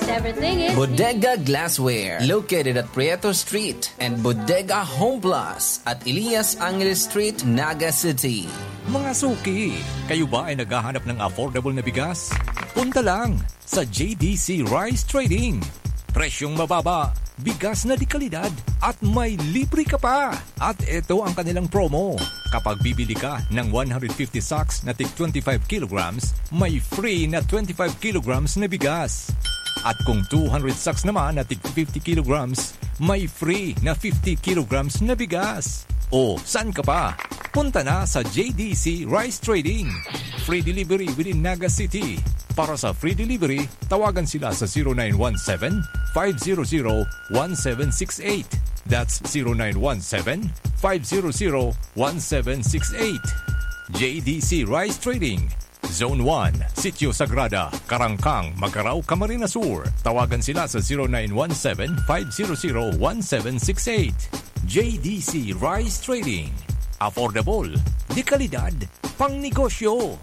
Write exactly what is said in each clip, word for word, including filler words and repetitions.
Everything is Bodega Glassware, located at Prieto Street and Bodega Home Plus at Elias Angeles Street, Naga City. Mga suki, kayo ba ay naghahanap ng affordable na bigas? Punta lang sa J D C Rice Trading. Presyong mababa, bigas na de kalidad, at may libre ka pa! At ito ang kanilang promo. Kapag bibili ka ng one hundred fifty sacks na tig twenty-five kilograms, may free na twenty-five kilograms na bigas. At kung two hundred sacks naman na tig fifty kilograms, may free na fifty kilograms na bigas. O, saan ka pa? Punta na sa J D C Rice Trading. Free delivery within Naga City. Para sa free delivery, tawagan sila sa zero nine one seven, five zero zero, one seven six eight. That's zero nine one seven, five zero zero, one seven six eight. J D C Rice Trading, Zone one, Sitio Sagrada, Karangkang, Magarao, Camarines Sur. Tawagan sila sa zero nine one seven, five zero zero, one seven six eight. J D C Rice Trading. Affordable, de kalidad, pangnegosyo.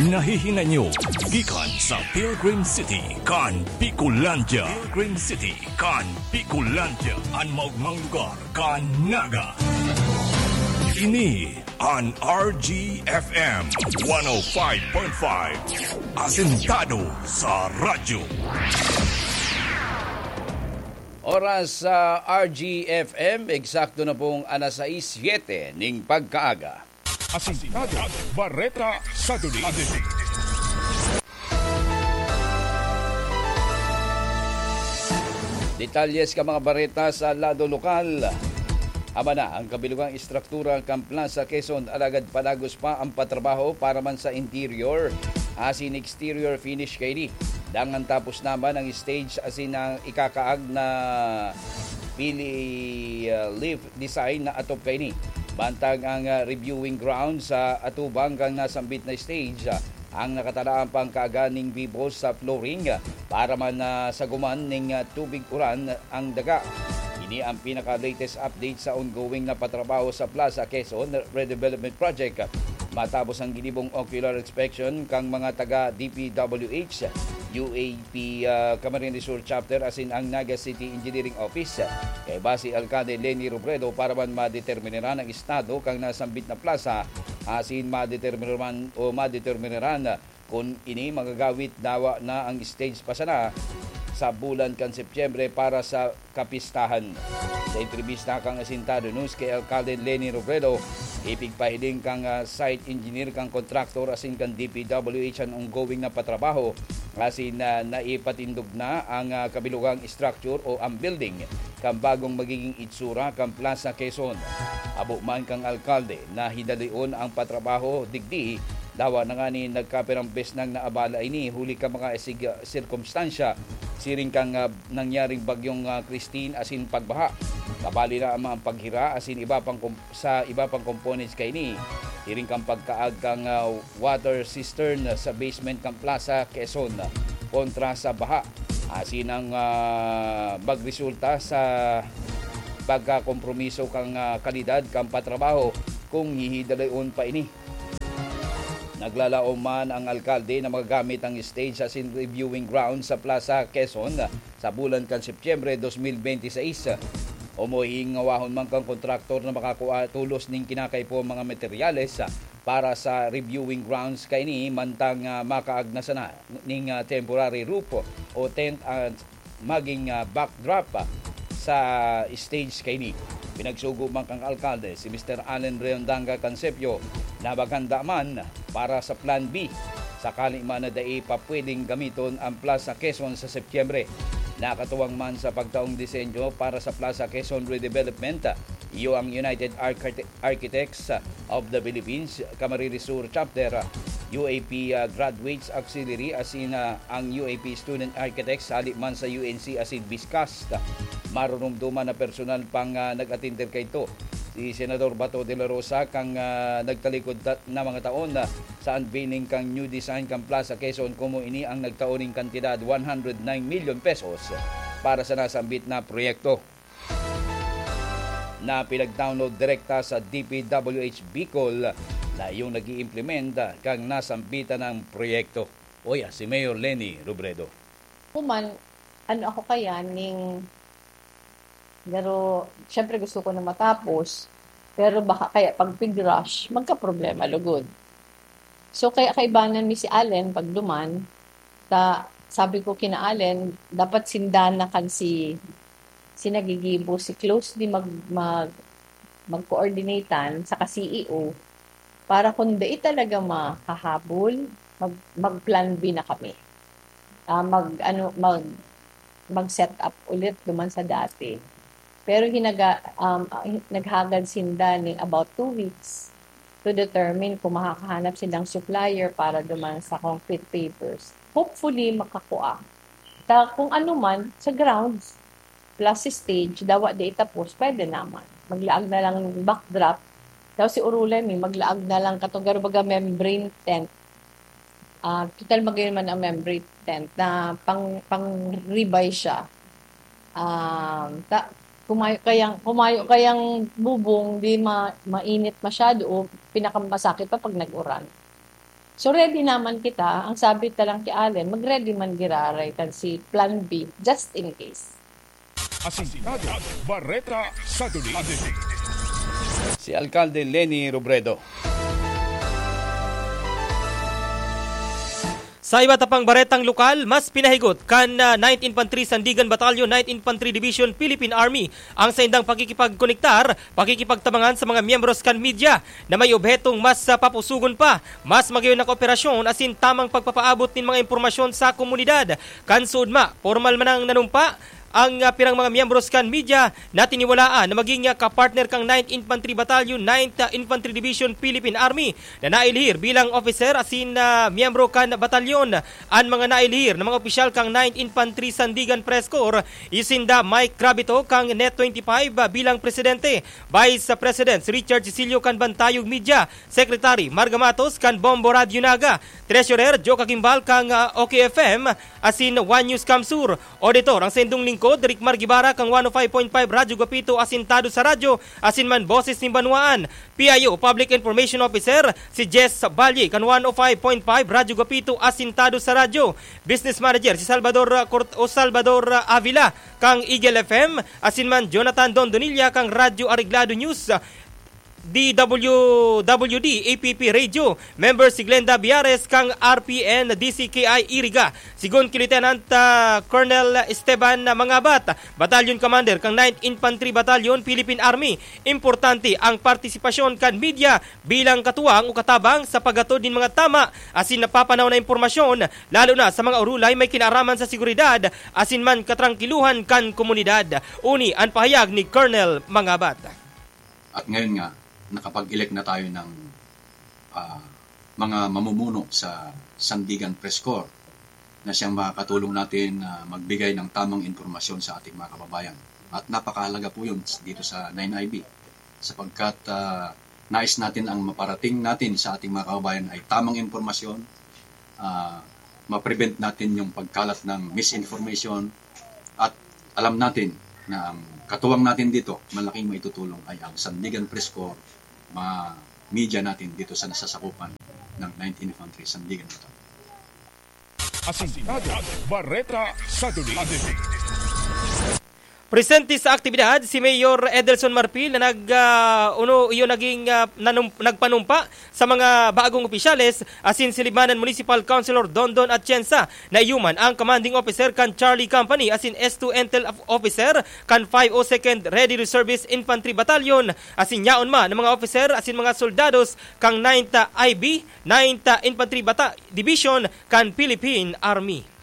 Nahihinay nyo gikan sa Pilgrim City kan Bicolandia. Pilgrim City kan Bicolandia, an maogmang lugar kan Naga. Ini an R G F M one oh five point five, asentado sa radyo. Oras sa R G F M, eksakto na pong alas sais siyete ning pagkaaga. Asintado, Bareta sa Duli. Detalye sa mga bareta sa lado lokal. Aba na, ang kabilugang estruktura kan Plaza Quezon, alagad padagos pa ang patrabaho para man sa interior asin exterior finish kaini. Dangan tapos naman ang stage asin ang ikakaag na pili, ah, lift design na atop kaini. Bantang ang, ah, reviewing ground sa atubang kan nasambit na stage, ah, ang nakatalaan pang kaaga ning bibos sa flooring, ah, para man, ah, saguman ning, ah, tubig uran ang daga. Ini ang pinaka-latest update sa ongoing na patrabaho sa Plaza Quezon Redevelopment Project. Matapos ang ginibong ocular inspection kan mga taga D P W H, U A P, ah, Camarines Sur Chapter asin ang Naga City Engineering Office, kaiba si Alcalde Leni Robredo para man madeterminaran ang estado kan nasambit na plaza asin madeterminaran o madeterminaran kun ini magagawit dawa na ang stage pa sana sa bulan kan Setyembre para sa kapistahan. Sa entrebista kan Asintado News kay Alcalde Leni Robredo, ipigpahiling kan, ah, site engineer kan kontraktor asin kan D P W H an ongoing na patrabaho asin na naipatindog na ang, ah, kabilugang structure o ang building kan bagong magiging itsura kan Plaza Quezon. Abo man kan alkalde na hidalion ang patrabaho digdi, dawa na ngani nagkapirang bes nang naabala ini huli kan mga sig-, sirkumstansya siring kan, ah, nangyaring bagyong, ah, Christine asin pagbaha. Kabali na ang mga paghira asin iba pang kom-, sa iba pang components kaini, siring kan pagkaag kan, ah, water cistern sa basement kan Plaza Quezon kontra sa baha. Asin ang, ah, magresulta sa pagkakompromiso kan, ah, kalidad kan patrabaho kung hihidalayon pa ini. Naglalaom man ang alkalde na magagamit ang stage asin reviewing ground sa Plaza Quezon sa bulan kan Setyembre dos mil benti seis. O mahingawahon man kan kontraktor na makakua tolos nin kinakaipo mga materyales para sa reviewing grounds kaini, mantang, ah, makaagna sana ning, ah, temporary roof o tent at maging, ah, backdrop, ah, sa stage kaini. Pinagsugo man kan alkalde si Mister Allen Reondanga Cansepio na maghanda man para sa Plan B sakali man na dai pa pwedeng gamiton ang Plaza Quezon sa Setyembre. Nakatuwang man sa pagtaong disenyo para sa Plaza Quezon Redevelopment, iyo ang United Architect-, Architects of the Philippines, Camarines Sur Chapter, U A P, ah, Graduates Auxiliary asin, ah, ang U A P Student Architects hali man sa U N C asin BISCAST. Marurumduman na personal pang, ah, nag-atender kaidto si Senador Bato de la Rosa kan, ah, nagtalikod ta-, na mga taon, ah, sa unveiling kan new design kan Plaza Quezon, komo ini ang nagtao nin kantidad one hundred nine million pesos para sa nasambit na proyekto. Na pinag-download direkta sa D P W H Bicol na iyong nag-iimplementa kan nasambitan na proyekto. Oya, si Mayor Leni Robredo. Human, ano ako kaya ning Pero, siyempre gusto ko na matapos, pero baka kaya pag pig-rush, magkaproblema lugod. So, kaya kaibanan mi si Allen pag duman, ta sabi ko kina Allen, dapat sinda na kan si, si nagigibo, si closely mag, mag, mag-coordinate-an saka C E O para kung dai talaga makahabol, mag, mag-plan B na kami. Ah, mag, ano, mag, mag-set up ulit duman sa dati. Pero hinaga, um, ah, hi-, naghagad sinda ning about two weeks to determine kung makakahanap silang supplier para duman sa concrete pavers. Hopefully, makakua. Ta, kung ano man, sa grounds, plus si stage, dawa di itapos, pwede naman. Maglaag na lang backdrop. Daw si Urulay, may maglaag na lang katong garo baga membrane tent. Ah, total magayon man ang membrane tent na pang, pang-revise siya. Um, ta, kumayo kayang, kumayo kayang bubong, di ma-, mainit masyado o pinakamasakit pa pag nag-uran. So, ready naman kita. Ang sabi ta lang ki Allen, mag-ready man giraray kan si plan B, just in case. Asintado, Bareta sa Duli. Si Alkalde Leni Robredo. Sa iba ta pang baretang lokal, mas pinahigot kan, ah, Ninth Infantry Sandigan Battalion, Ninth Infantry Division, Philippine Army ang saindang pakikipagkonektar, pakikipagtabangan sa mga miyembros kan media na may obhetong mas, ah, papusugon pa, mas magayon na kooperasyon asin tamang pagpapaabot nin mga impormasyon sa komunidad. Kan suodma, pormal man ang nanumpa, ang, ah, pirang mga miyembros kan media na tiniwalaan na maging, ah, kapartner kan Ninth Infantry Battalion, Ninth, ah, Infantry Division, Philippine Army na nailihir bilang opiser asin, ah, miyembro kan batalyon. An mga nailihir na mga opisyal kan Ninth Infantry Sandigan Press Corps, iyo sinda Mike Gravito kan Net twenty-five, ah, bilang presidente, Vice President si Richard Cecilio kan Bantayog Media, Secretary Marga Matos kan Bombo Radyo Naga, Treasurer Joe Kagimbal kan, ah, OK F M, asin One News Kamsur. Auditor ang saindong lingkod, Rick Margibara kan one oh five point five Radyo Guapito, Asintado sa Radyo, asin man Boses nin Banwaan. P I O, Public Information Officer, si Jess Balye kan one oh five point five Radyo Guapito, Asintado sa Radyo. Business Manager, si Salvador, ah, Cort-, o Salvador, ah, Avila kan Eagle F M, asin man Jonathan Dondonilla kan Radyo Areglado News, D W W D A P P Radio. Member si Glenda Biares kan R P N D C K I Iriga. Sigon ki Lieutenant, ah, Colonel Esteban Mangabat, Battalion Commander kan Ninth Infantry Battalion, Philippine Army, importante ang partisipasyon kan media bilang katuwang o katabang sa paghatod nin mga tama asin napapanaw na impormasyon, lalo na sa mga urulay may kinaaraman sa seguridad asin man katrangkiluhan kan komunidad. Uni an pahayag ni Colonel Mangabat. At ngayon nga, nakapag-elect na tayo ng, ah, mga mamumuno sa Sandigan Press Corps na siyang makakatulong natin na magbigay ng tamang impormasyon sa ating mga kababayan. At napakahalaga po yun dito sa nine I B, sapagkat, ah, nais natin ang maparating natin sa ating mga kababayan ay tamang impormasyon, ah, ma-prevent natin yung pagkalat ng misinformation, at alam natin na ang katuwang natin dito, malaking maitutulong ay ang Sandigan Press Corps, mga media natin dito sa nasasakupan ng Ninth Infantry Sandigan Battalion. Asintado, Bareta sa Duli. Presente sa aktibidad si Mayor Edelson Marfil na nag, ah, uno, iyo naging, ah, nanum-, nagpanumpa sa mga bagong opisyales, asin si Libmanan Municipal Councilor Dondon Atienza, na iyo man ang commanding officer kan Charlie Company asin S two Intel of-, officer kan five oh second Ready Reservist Infantry Battalion, asin yaon man ang mga officer asin mga soldados kan ninth I B, ninth Infantry Bata-, Division kan Philippine Army.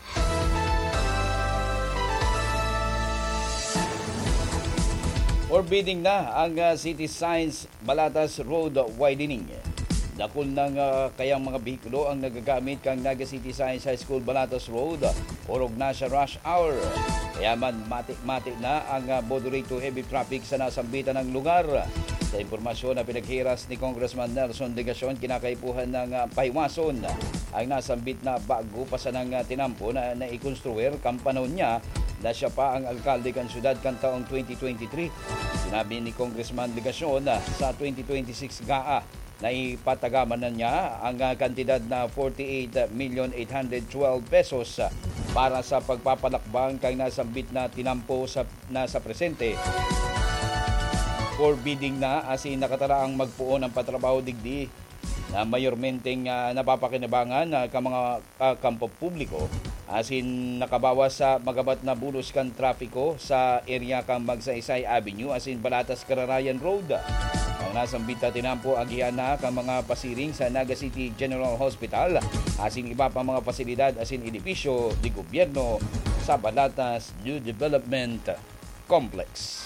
Forbidding na ang, ah, city signs, Balatas Road widening. Dakul nang, ah, kayang mga behikulo ang nagagamit kan Naga City Science High School Balatas Road, orog na sa rush hour. Kaya man, mati-mati na ang, ah, moderate to heavy traffic sa nasambitan ng lugar. Sa impormasyon na pinaghiras ni Congressman Nelson Legacion, kinakaipuhan ng, ah, pahiwason ang nasambit na bago pa sanang, ah, tinampo na naikonstruir kan panahon niya na siya pa ang alkalde kan syudad kan taong twenty twenty-three. Sinabi ni Congressman Legacion na sa twenty twenty-six gaa Naipatagaman na niya ang, ah, kantidad na forty-eight million eight hundred twelve pesos, ah, para sa pagpapalakbang kan nasambit na tinampo sa, na sa presente. For bidding na, asin nakatara ang magpoon ang patrabaho digdi na mayormenteng, ah, napapakinabangan, ah, kan mga, ah, kampo publiko, asin nakabawas sa magabat na bulos kan trapiko sa area kan Magsaysay Avenue asin Balatas Kararayan Road. Ang nasambit na tinampo agihan na kan mga pasiring sa Naga City General Hospital asin iba pang mga pasilidad asin edipisyo de gobyerno sa Balatas New Development Complex.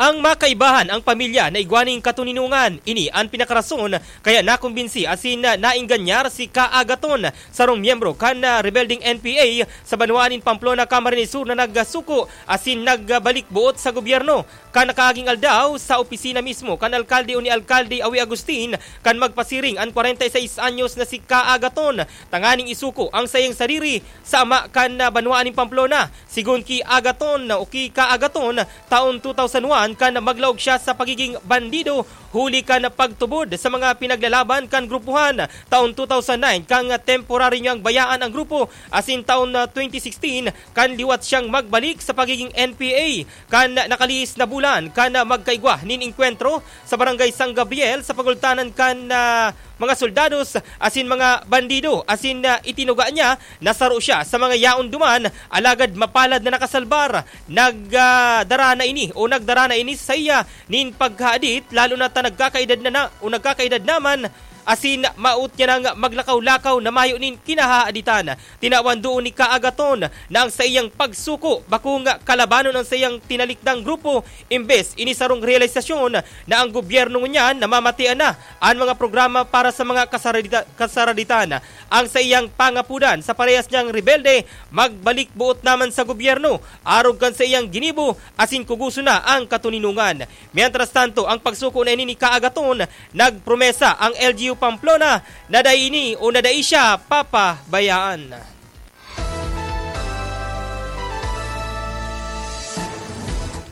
Ang makaibahan ang pamilya na igwa ning katoninongan. Ini an pinakarason kaya nakumbinsi asin naingganyar si Ka Agaton, sarong miyembro kan, ah, rebeldeng N P A sa banwaan nin Pamplona, Camarines Sur, na nagsuko asin nagbalik-buot sa gobyerno. Kan nakaaging aldaw, sa opisina mismo kan alkalde o ni Alkalde Awi Agustin, kan magpasiring an kwarenta y seis anyos na si Ka Agaton, tanganing isuko ang saiyang sadiri sa ama kan, ah, banwaan nin Pamplona. Sigon ki Agaton o ki Ka Agaton, taon two thousand one kan maglaog siya sa pagiging bandido huli kan pagtubod sa mga pinaglalaban kan grupuhan. Taon two thousand nine kan temporaryo niyang bayaan ang grupo, asin taon, ah, twenty sixteen kan liwat siyang magbalik sa pagiging N P A. Kan nakalihis na bulan kan magkaigwa nin engkwentro sa Barangay San Gabriel sa pagultanan kan, ah, mga soldados asin mga bandido, asin, ah, itinuga niya na saro siya sa mga yaon duman, alagad mapalad na nakasalbar. Nag, ah, dara na ini o nagdara na ini sa iya nin pagkahadit, lalo na ta nagkakaedad na, na o nagkakaedad naman, asin maot niya nang maglakaw-lakaw na mayo nin kinahahaditan. Tinawan doon ni Ka Agaton na ang saiyang pagsuko bakong kalabanon ang saiyang tinalikdang grupo, imbes ini sarong realisasyon na ang gobyerno ngunyan namamatean na an mga programa para sa mga kasaradita-, kasaraditan. Ang saiyang pangapudan sa parehas niyang rebelde, magbalik-buot naman sa gobyerno, arog kan saiyang ginibo, asin kugoson na ang katoninongan. Mientras tanto, ang pagsuko na ini ni Ka Agaton, nagpromesa ang L G U Pamplona na dai ini o na dai siya papabayaan.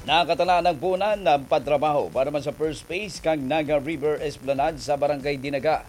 Nakatala nagpoon an patrabaho para man sa first phase kan Naga River Esplanade sa Barangay Dinaga.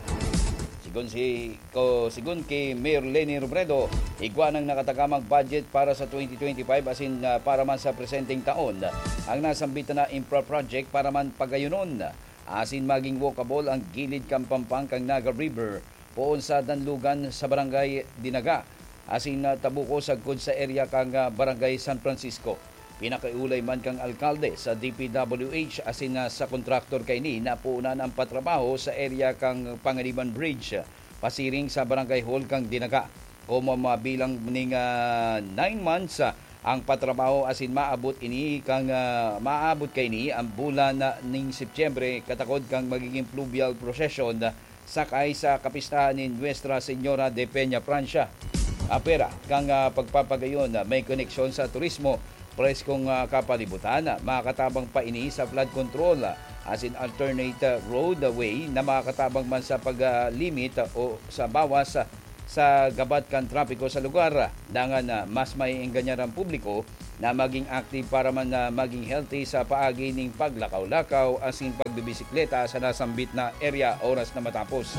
Sigon si, ko, sigon ki Mayor Leni Robredo, igwa nang nakatagamang budget para sa twenty twenty-five asin, ah, para man sa presenteng taon. Ang nasambit na infra project para man pagayonon asin maging walkable ang gilid kan pampang kan Naga River poon sa Danlugan sa Barangay Dinaga asin, ah, Tabuco sagkod sa area kan, ah, Barangay San Francisco. Pinakiolay man kan alkalde sa D P W H asin, ah, sa kontraktor kaini na puunan ang patrabaho sa area kan Panganiban Bridge, pasiring sa Barangay Hall kan Dinaga. Komo mabilang ning, ah, nine months, ah, ang patrabaho asin maabot ini kan, ah, maabot kaini ang bulan na ning Setyembre katakod kan magiging fluvial procession, ah, sakay sa kapistahan ni Nuestra Señora de Peña Francia. Apera kan, ah, pagpapagayon na may koneksyon sa turismo, preskong, ah, kapalibutan, ah, makatabang pa ini sa flood control, ah, asin alternate, ah, roadway na makatabang man sa pag, ah, limit, ah, o sa bawas, ah, sa gabat kan trapiko sa lugar. Dangan na mas maiengganyan ang publiko na maging active para man na maging healthy sa paagi ning paglakaw-lakaw asin pagbibisikleta sa nasambit na area oras na matapos.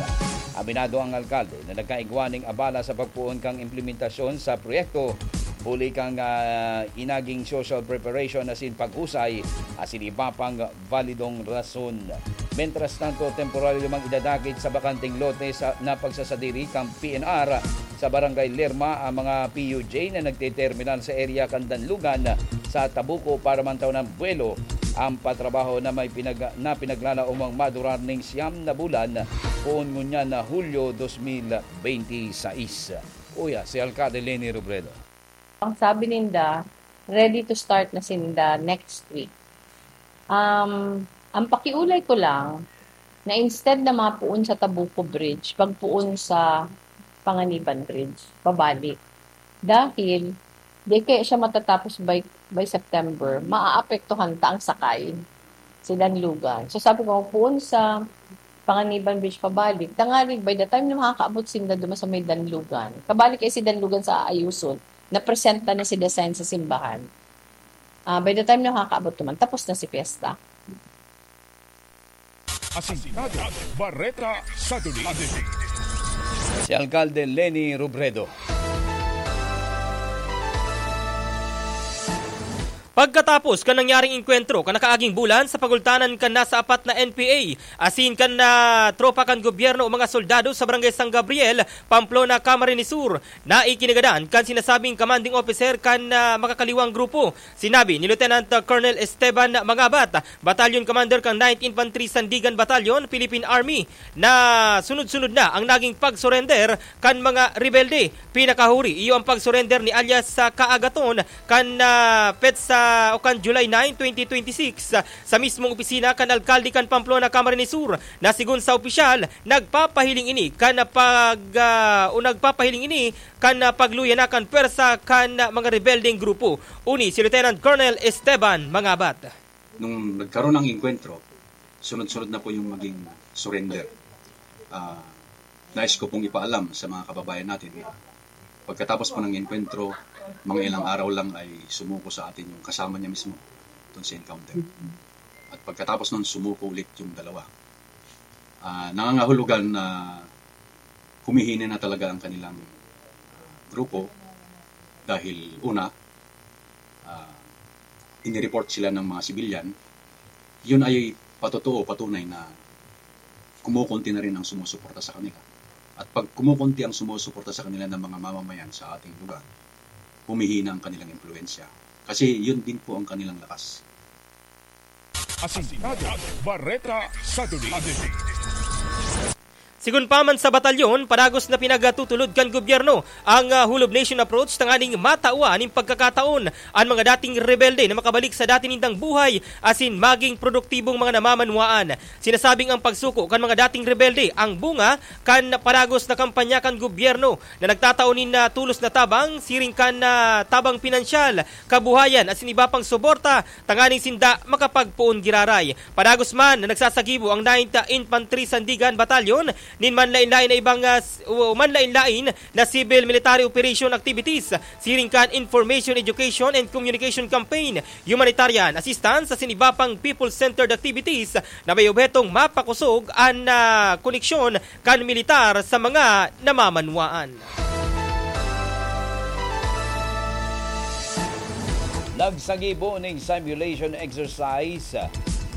Aminado ang alkalde na nagkaigwa ning abala sa pagpoon kan implementasyon sa proyekto, huli kan, ah, inaging social preparation asin paghusay asin iba pang validong rason. Mientras tanto, temporaryo mang idadakit sa bakanteng lote sa, na pagsasadiri kan P N R sa Barangay Lerma ang mga P U J na nagteterminal sa area kan Danlugan sa Tabuco para man tawon ang buwelo. Ang patrabaho na may pinag-, na pinaglalaomang madurar ning siyam na bulan, poon ngunyan na Hulyo dos mil bente y seis. Uya, si Alcalde Leni Robredo. Ang sabi ninda, ready to start na sinda next week. Um, ang pakiulay ko lang, na instead na mapoon sa Tabuco Bridge, pagpoon sa Panganiban Bridge, pabalik. Dahil, di kaya siya matatapos by, by September, maaapektuhan ta ang sakay, si Danlugan. So sabi ko, poon sa Panganiban Bridge pabalik, tangalig, by the time na makakaabot sinda duman sa may Danlugan, kabalik kay si Danlugan sa aayuson, napresenta na si Dasen sa simbahan. Ah, by the time nakakaabot naman, tapos na si fiesta. Asintado, Bareta sa Duli. Si Alkalde Leni Robredo. Pagkatapos kan nangyaring engkwentro kan nakaaging bulan sa pagultanan kan nasa apat na N P A asin kan, ah, tropa kan gobyerno o mga soldado sa Barangay San Gabriel, Pamplona, Camarines Sur, na ikinagadan kan sinasabing commanding officer kan, ah, makakaliwang grupo. Sinabi ni Lieutenant Colonel Esteban Mangabat, Battalion Commander kan Ninth Infantry Sandigan Battalion, Philippine Army, na sunod-sunod na ang naging pag-surrender kan mga rebelde. Pinakahuri, iyo ang pag-surrender ni alias sa Kaagaton kan, ah, petsa o kan July nine, twenty twenty-six, sa mismong opisina kan alkalde kan Pamplona, Camarines Sur, na sigon sa opisyal, nagpapahiling ini kan pag, ah, o nagpapahiling ini kan, ah, pagluya na kan pwersa kan, ah, mga rebeldeng grupo. Uni si Lieutenant Colonel Esteban Mangabat. Nung nagkaroon ng engkwentro, sunod-sunod na po yung maging surrender. Ah, nais ko pong ipaalam sa mga kababayan natin na pagkatapos po ng engkwentro, mga ilang araw lang ay sumuko sa atin yung kasama niya mismo doon sa encounter. At pagkatapos nun, sumuko ulit yung dalawa. Ah, nangangahulugan na humihina na talaga ang kanilang, ah, grupo dahil una, ah, inireport sila ng mga sibilyan. Yun ay patotoo, patunay na kumukunti na rin ang sumusuporta sa kanila. At pag kumukunti ang sumusuporta sa kanila ng mga mamamayan sa ating lugar, humihina ang kanilang impluwensya. Kasi yun din po ang kanilang lakas. Asintado, Bareta sa Duli. Sigon pa man sa batalyon, padagos na pinagtutulod kan gobyerno ang, ah, whole of nation approach tanganing matawan nin pagkakataon an mga dating rebelde na makabalik sa dati nindang buhay asin maging produktibong mga namamanwaan. Sinasabing ang pagsuko kan mga dating rebelde ang bunga kan padagos na kampanya kan gobyerno na nagtatao nin, ah, tulos na tabang, siring kan, ah, tabang pinansyal, kabuhayan asin iba pang suporta tanganing sinda makapagpoon giraray. Padagos man na nagsasagibo ang Ninth Infantry Sandigan Battalion nin manlain-lain na ibang, ah, s-, o manlain-lain na civil military operation activities, siring kan information, education, and communication campaign, humanitarian assistance, asin iba pang people-centered activities na may obhetong mapakosog an, ah, koneksyon kan militar sa mga namamanwaan. Nagsagibo ning simulation exercise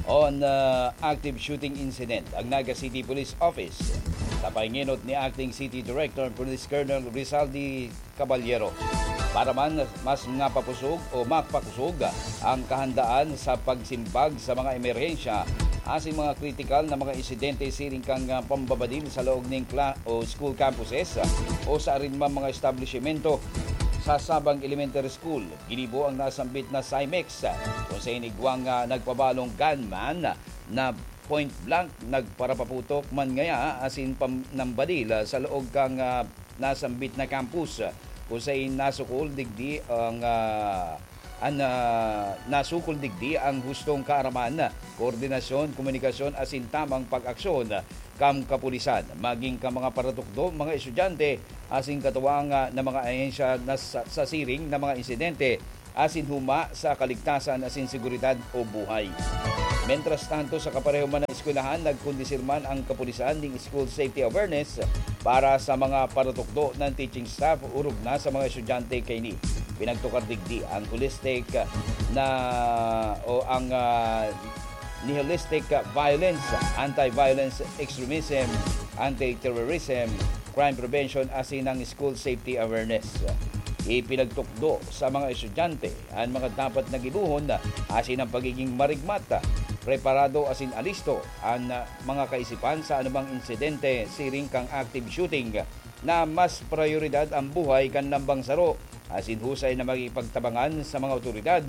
on, ah, active shooting incident ang Naga City Police Office. Sa pahinginot ni Acting City Director Police Colonel Rizaldi Caballero. Para man mas nga papusog o mapakosog ang kahandaan sa pagsimbag sa mga emerhensya asin mga kritikal na mga insidente siring kan, ah, pambabadil sa laog ning kla-, o school campuses o sa arin man mga establisimento. Sa Sabang Elementary School, ginibo ang nasambit na Cymex, kung sa inigwang, ah, nagpabalong gunman na point blank nagparapaputok man ngaya asin pam-, nambadil, ah, sa laog kan, ah, nasambit na campus, kung sain nasukol digdi ang, ah, an, ah, nasukol digdi ang hustong kaaraman, koordinasyon, komunikasyon asin tamang pag-aksyon kan kapulisan, maging kan mga paratukdo, mga estudyante asin katuwang, ah, na mga ahensya na sa, sa siring na mga insidente asin huma sa kaligtasan asin seguridad o buhay. Mientras tanto, sa kapareho man na eskwelahan, nagkondisir man ang kapulisan ning school safety awareness para sa mga paratukdo ng teaching staff orog na sa mga estudyante kaini. Pinagtukar digdi ang holistic na o ang, ah, nihilistic violence, anti-violence extremism, anti-terrorism, crime prevention asin ang school safety awareness. Ipinagtukdo sa mga estudyante an mga dapat na gibohon asin ang pagiging marigmat, preparado asin alisto an mga kaisipan sa anumang insidente siring kan active shooting na mas prayoridad ang buhay kan lambang saro asin husay na makikipagtabangan sa mga awtoridad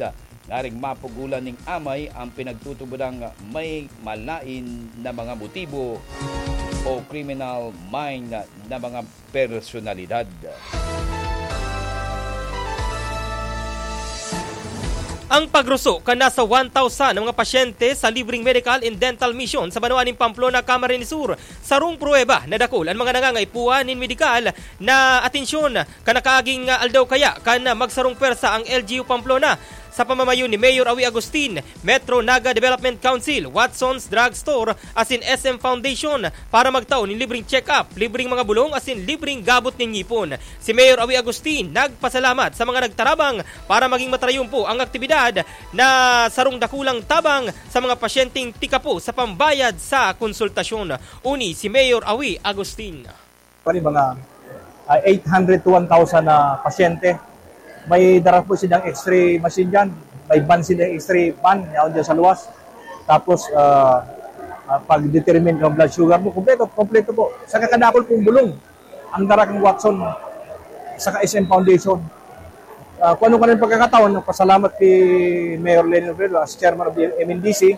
ngaring mapugolan ning amay ang pinagtutubodang may malain na mga motibo o criminal mind na mga personalidad. Ang pagruso kan nasa one thousand na mga pasyente sa libreng medical and dental mission sa banwaan nin Pamplona, Camarines Sur, sarong pruweba na dakul an mga nangangaipuhan nin medikal na atensyon. Kan nakaaging, ah, aldaw kaya kan, ah, magsarong pwersa ang L G U Pamplona Sa pamamayo ni Mayor Awi Agustin, Metro Naga Development Council, Watson's Drug Store asin S M Foundation para magtao nin libreng check-up, libreng mga bulong asin libreng gabot nin ngipon. Si Mayor Awi Agustin nagpasalamat sa mga nagtarabang para maging matarayumpo ang aktibidad na sarong dakulang tabang sa mga pasyenteng tikapo sa pambayad sa konsultasyon. Uni si Mayor Awi Agustin. Pwede mga, ah, eight hundred to one thousand na pasyente. May dara po silang X-ray machine dyan. May van sila, X-ray van, yaon dyan sa luwas. Tapos, ah, ah, pag-determine ng blood sugar mo, kompleto, kompleto po. Sa kakadakol pong bulong, ang dara kang Watson, saka S M Foundation. Ah, kung ano ka ng pagkakataon, nagpasalamat kay Mayor Leni Robredo as chairman of the M N D C,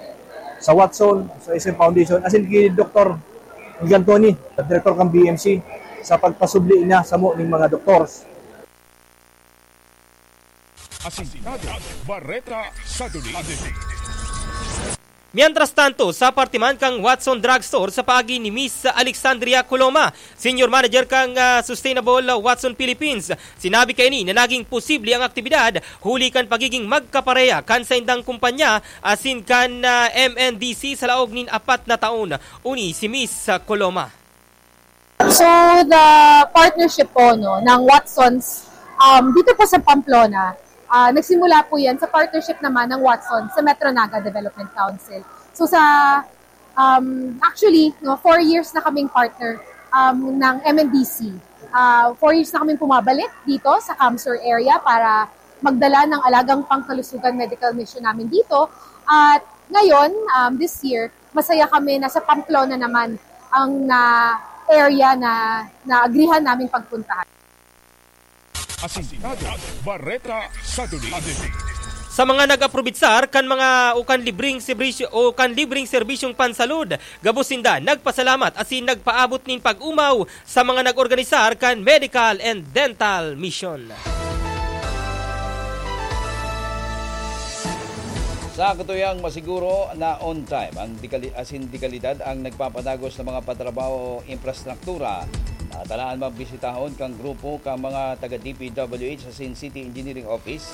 sa Watson, sa S M Foundation, asin kay Doktor Gigantoni, director kan B M C, sa pagpasubli niya sa mo ning mga doktors. Asintado, Bareta, Saturday. Mientras tanto, sa parte man kan Watson Drugstore sa paagi ni Miss Alexandria Coloma, Senior Manager kan, ah, Sustainable Watson Philippines, sinabi kaini na naging posible ang aktibidad huli kan pagiging magkapareha kan saindang kumpanya asin kan, ah, M N D C sa laog nin apat na taon. Uni si Miss, ah, Coloma. So, the partnership po, no, ng Watsons, um, dito po sa Pamplona, ah, nagsimula po yan sa partnership naman ng Watsons sa Metro Naga Development Council. So, sa, um, actually, no, four years na kaming partner, um, ng M N D C. Ah, four years na kaming pumabalik dito sa CamSur area para magdala ng alagang pangkalusugan medical mission namin dito. At ngayon, um, this year, masaya kami na sa Pamplona naman ang na area na naagrihan naming pagpuntahan. Asintado, Bareta, Saturday. Sa mga nag-aprobitsar kan mga o kan libreng serbisyo o kan libreng serbisyong pansalud, gabos sinda nagpasalamat asin nagpaabot nin pag-omaw sa mga nag-organisar kan medical and dental mission. Sa katuyang masiguro na on time ang dekali-, asin dekalidad ang nagpapadagos na mga patrabaho o infrastruktura, natalaan mabisitahon kan grupo kan mga taga D P W H asin City Engineering Office,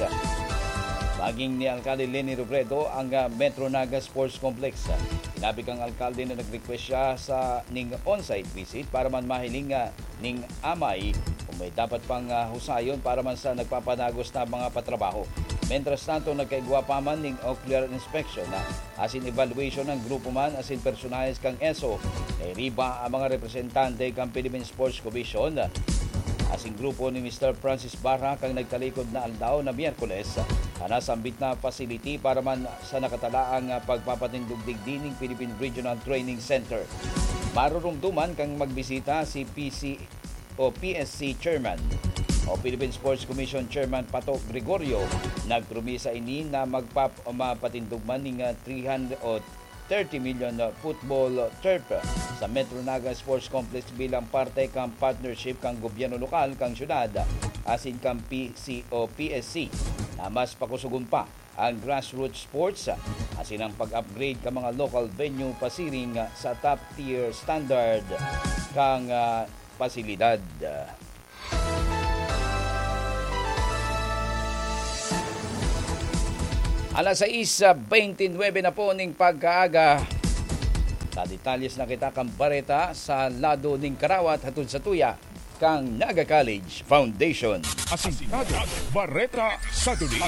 maging ni Alcalde Leni Robredo ang, ah, Metro Naga Sports Complex. Sinabi kang alkalde na nag-request siya sa ning on-site visit para man mahiling, ah, ning amay kung may dapat pang, ah, husayon para man sa nagpapadagos na mga patrabaho. Mientras tanto, nagkaigwa pa man ning ocular inspection na asin evaluation ang grupo man asin personahes kan ESO. Nairiba ang mga representante kan Philippine Sports Commission asin grupo ni Mister Francis Barra kan nagtalikod na aldaw na Miyerkules, kana sambit na facility para man sa nakatalaang, ah, pagpapatindog digdi ning Philippine Regional Training Center. Marurumduman kan magbisita si P C o P S C Chairman o Philippine Sports Commission Chairman Pato Gregorio. Nagpromisa ini na magpap-, mapatindog man ning, ah, three hundred o thirty million na football turf sa Metro Naga Sports Complex bilang parte kan partnership kan gobyerno lokal kan syudad asin kan P C o P S C na mas pakusugon pa ang grassroots sports asin ang pag-upgrade kan mga local venue pasiring sa top tier standard kan, ah, pasilidad. Alas sais beintinuebe na po ning pagkaaga. Sa detalles na kita kan bareta sa lado ning karawat hatod sa tuya kang Naga College Foundation. Asintado, Bareta, Saturday.